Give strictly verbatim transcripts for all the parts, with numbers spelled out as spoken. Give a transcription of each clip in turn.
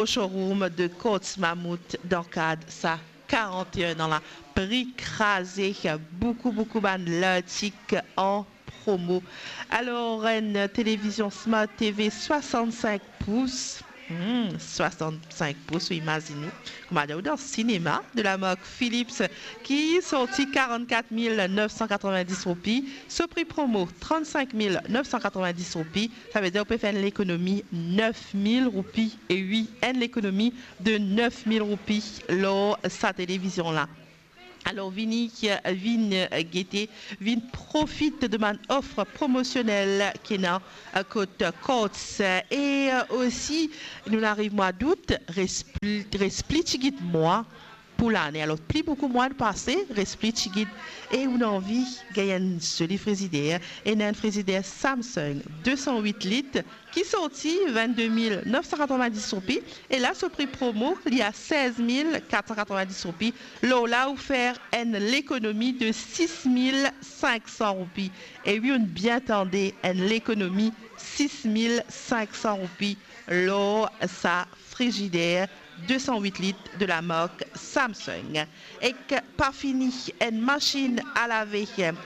o showroom de Courts Mammouth dan kad sa quarante et un an la. Pri kraze, boukou, boukou bann lartik an promo. Alor, enn televizion Smart T V swasannsink pous, hmm, swasannsink pous, ou imazinn ou, kouma dir ou dan sinema, de la mark Philips, ki sorti quarante-quatre mille neuf cent quatre-vingt-dix roupi, so pri promo trente-cinq mille neuf cent quatre-vingt-dix roupi, savedir ou pe fer enn lekonomi nef mil roupi, e wi, enn lekonomi de nef mil roupi lor sa televizion la. Alor, vini, vinn gete, vinn profit de bann of promosionel ki ena kot Courts. E osi, nou ariv mwa dout, res pli, res pli tigit mwa pou lane. Alor, pli boukou mwa pase, res pli tigit. E ou ena anvi gagn enn zoli frizider, ena enn frizider Samsung de san wit lit, ki sorti vennde mil nef san katrovin-dis roupi, e la so pri promo, li a sez mil kat san katrovin-dis roupi. Lor la, ou fer enn lekonomi de sis mil sink san roupi. E wi, ou'nn bien tande, enn lekonomi sis mil sink san roupi lor sa frizider de san wit lit de la mark Samsung. Ek pa fini, enn masinn a lave,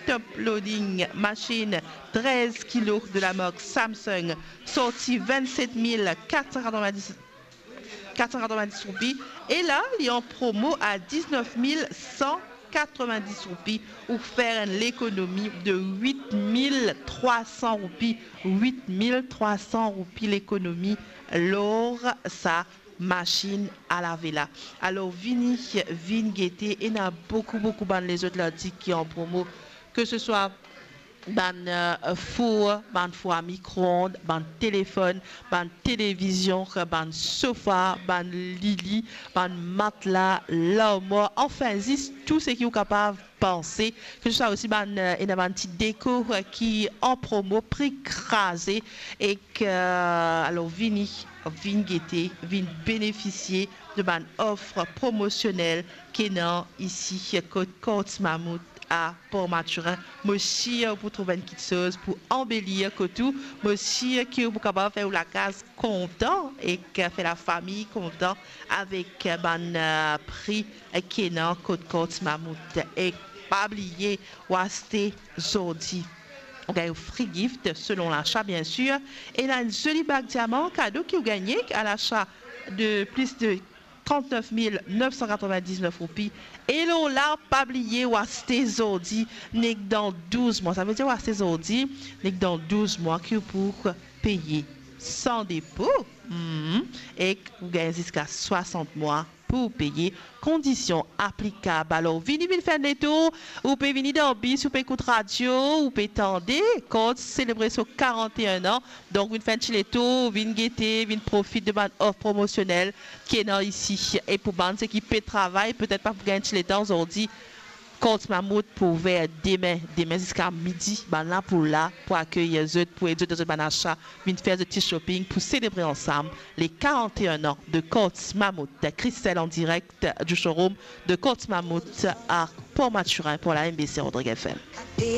top loading masinn trez kilo de la mark Samsung, sorti vennset mil kat san katrovin-dis, kat san katrovin-dis roupi, e la, li an promo a diznef mil san katrovin-dis roupi, ou fer enn lekonomi de wit mil trwa san roupi, wit mil trwa san roupi lekonomi lor sa masinn a lave la. Alor, vini, vinn gete, ena boukou, boukou bann lezot lartik ki an promo, ke se swa bann, eh, four, bann four a mikroond, bann telefonn, bann televizion, bann sofa, bann lili, bann matla, larmwar, anfin, zis tou seki ou kapav panse, ke se swa osi bann, eh, ena bann ti deko, eh, ki an promo, pri kraze, ek, eh, alor vini, vinn gete, vinn benefisie de bann of promosionel ki ena isi kot Courts Mammouth a Port Mathurin. Mo sir ou pou trouv enn kitsoz pou anbelir kot ou. Mo sir ki ou pou kapav fer ou lakaz kontan ek fer lafami kontan avek bann, eh, pri ki ena kot Courts Mammouth. Ek pa bliye, ou aste zordi, ou gagn free gift selon lasa, bien sir. Ena enn zoli bag diaman kado ki ou gagne a lasa de plis de trant-nef mil nef san katrovin-diznef roupi. E lor la, pa bliye, ou aste zordi, nek dan douz mwa. Savedir ou aste zordi, nek dan douz mwa ki ou pou peye san depo. Mhm. Ek ou gagn ziska swasant mwa pou peye. Kondision aplikab. Alor, vini, vinn fer enn letour. Ou pe vini dan bis, ou pe ekout radio, ou pe tande Courts selebre so karant-e-enn an. Donk, vinn fer enn ti letour, vinn gete, vinn profit de bann of promosionel ki ena isi. E pou bann seki pe travay, petet pa pou gagn ti letan zordi, Courts Mammouth pou ouver demin, demin ziska midi, bann la pou la, pou akeyir zot, pou ed zot dan zot bann asa, vinn fer zot ti shopping, pou selebre ansam le karant-e-enn an de Courts Mammouth. Christelle an direk du showroom de Courts Mammouth a Port Mathurin pour la M B C Rodrigues F M.